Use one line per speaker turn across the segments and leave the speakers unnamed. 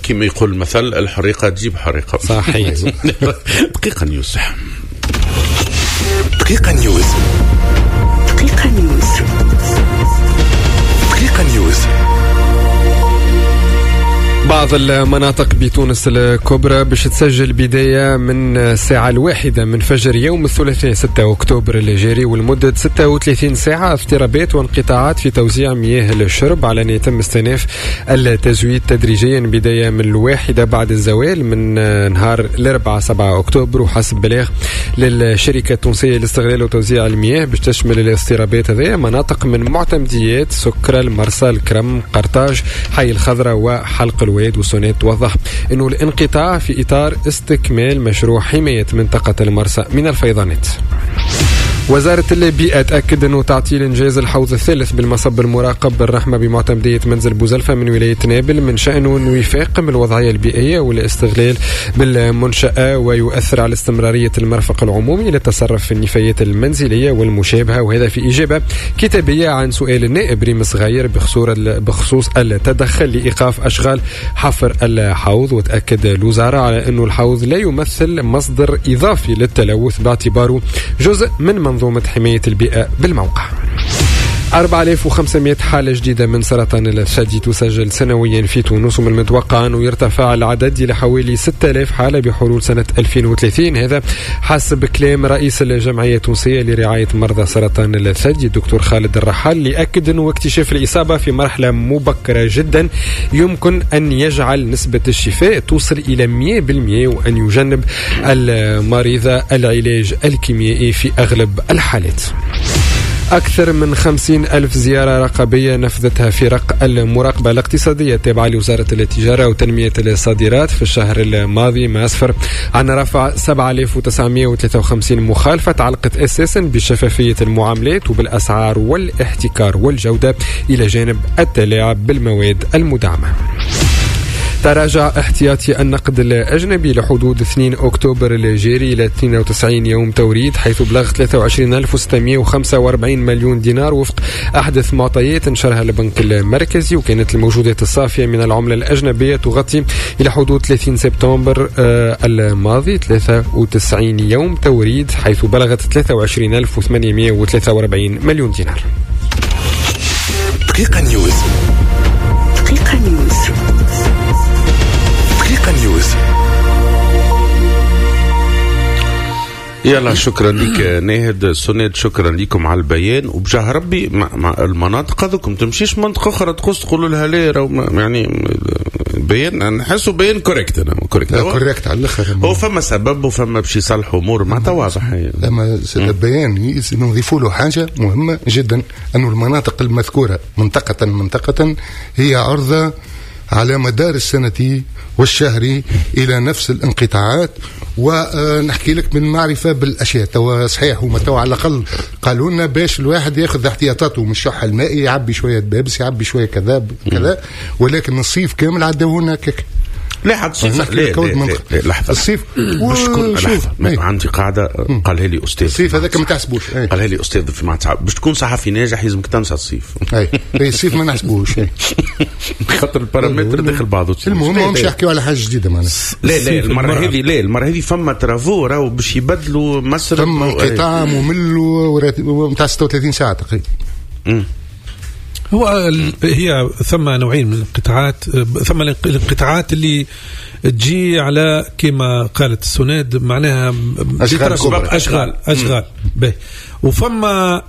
كما يقول المثل، الحريقه تجيب حريقة.
صحيح.
دقيقة نيوز.
دقيقة نيوز. دقيقة نيوز. دقيقة نيوز.
بعض المناطق بتونس الكبرى باش تسجل بداية من الساعة 1 من فجر يوم الثلاثاء 6 أكتوبر الجاري ولمدة 36 ساعة اضطرابات وانقطاعات في توزيع مياه الشرب، على أن يتم استئناف التزويد تدريجيا بداية من 1 بعد الزوال من نهار الأربعاء 7 أكتوبر. وحسب بلاغ للشركة التونسية لاستغلال وتوزيع المياه باش تشمل الاضطرابات هذه مناطق من معتمديات سكرة، المرسى، الكرم، قرطاج، حي الخضراء وحلق الواد. وسوناد توضح أنه الانقطاع في إطار استكمال مشروع حماية منطقة المرسى من الفيضانات. وزارة البيئة تأكد أنه تعطيل إنجاز الحوض الثالث بالمصب المراقب بالرحمة بمعتمدية منزل بوزلفة من ولاية نابل من شأنه أنه يفاقم الوضعية البيئية والاستغلال بالمنشأة ويؤثر على استمرارية المرفق العمومي للتصرف في النفايات المنزلية والمشابهة، وهذا في إجابة كتابية عن سؤال النائب ريم صغير بخصوص التدخل لإيقاف أشغال حفر الحوض. وتأكد الوزارة على أنه الحوض لا يمثل مصدر إضافي للتلوث باعتباره جزء من منظومة حماية البيئة بالموقع. 4500 حالة جديدة من سرطان الثدي تسجل سنويا في تونس، ومن المتوقع أنه يرتفع العدد إلى حوالي 6000 حالة بحلول سنة 2030، هذا حسب كلام رئيس الجمعية التونسية لرعاية مرضى سرطان الثدي الدكتور خالد الرحال، اللي أكد أنه اكتشاف الإصابة في مرحلة مبكرة جدا يمكن أن يجعل نسبة الشفاء توصل إلى 100% وأن يجنب المريض العلاج الكيميائي في أغلب الحالات. أكثر من 50,000 زيارة رقابية نفذتها فرق المراقبة الاقتصادية التابعة لوزارة التجارة وتنمية الصادرات في الشهر الماضي، ما أسفر عن رفع 7953 مخالفة تعلقت أساسا بشفافية المعاملات وبالأسعار والاحتكار والجودة، إلى جانب التلاعب بالمواد المدعمة. تراجع احتياطي النقد الأجنبي لحدود 2 أكتوبر الجاري إلى 92 يوم توريد، حيث بلغ 23,645 مليون دينار وفق أحدث معطيات نشرها البنك المركزي. وكانت الموجودات الصافية من العملة الأجنبية تغطي إلى حدود 30 سبتمبر الماضي 93 يوم توريد، حيث بلغت 23,843 مليون دينار.
دقيقة نيوز. دقيقة نيوز. دقيقة نيوز.
يلا شكرا لك ناهد سند، شكرا لكم على البيان. وبجاه ربي مع المناطق هذوكم تمشيش منطقة أخرى تقص تقولوا لها لا، يعني بيان نحسوا بيان correct. أنا correct
correct على الآخر.
هو فما سبب وفما باش يصلحوا أمور معناتها واضح.
لما البيان نضيفوا له حاجة مهمة جدا، أنه المناطق المذكورة منطقة منطقة هي عرضة على مدار السنة والشهر إلى نفس الانقطاعات. ونحكي لك من معرفة بالأشياء توا صحيح، هما توا على الأقل قالوا لنا باش الواحد ياخذ احتياطاته من الشح المائي، يعبي شوية بابس، يعبي شوية كذا كذا، ولكن الصيف كامل عداونا هكاك.
لا حد الصيف لا لا لحظة
الصيف
باش تكون عندي قاعدة قالها لي أستاذ.
الصيف هذاك ما تحسبوش.
قالها لي أستاذ في معهد، باش تكون صحفي ناجح لازمك تنسى الصيف.
أي الصيف ما نحسبوش
خاطر البارامتر داخل بعضه.
المهم مش يحكيوا على حاجة جديدة معناها.
لا لا المرة هذه، لا المرة هذه فما travaux راهو باش يبدلوا مصر،
فما انقطاع ممل ونتاع 36 ساعة تقريبا.
هو هي ثم نوعين من الانقطاعات. ثم الانقطاعات اللي تجي على كما قالت السند معناها
اشغال
اشغال به، وفما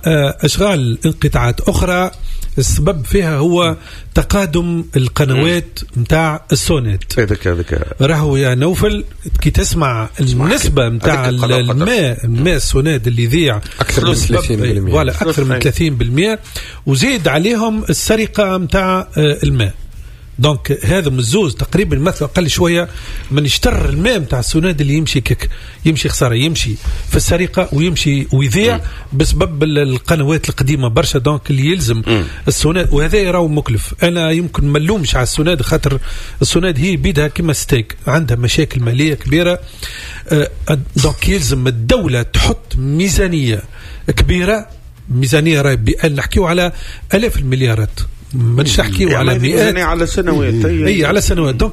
اشغال انقطاعات اخرى السبب فيها هو تقادم القنوات نتاع السونات.
هذاك
راهو يا نوفل كي تسمع النسبة نتاع الماء السوناد اللي يضيع
أكثر من 30%،
ولا أكثر من 30%، وزيد عليهم السرقة نتاع الماء. donc هذا مزوز تقريبا مثل أقل شوية من اشتر الماء نتاع السوناد اللي يمشي كك يمشي خسارة، يمشي في السرقة ويمشي ويضيع بسبب القنوات القديمة برشا. donc اللي يلزم السوناد، وهذا راهو مكلف. أنا يمكن ما نلومش على السوناد، خاطر السوناد هي بيدها كما ستيك عندها مشاكل مالية كبيرة. donc يلزم الدولة تحط ميزانية كبيرة، ميزانية راهي نحكيو على آلاف المليارات. مانيش نحكيو على مئات،
على سنوات.
اي، على سنوات، donc.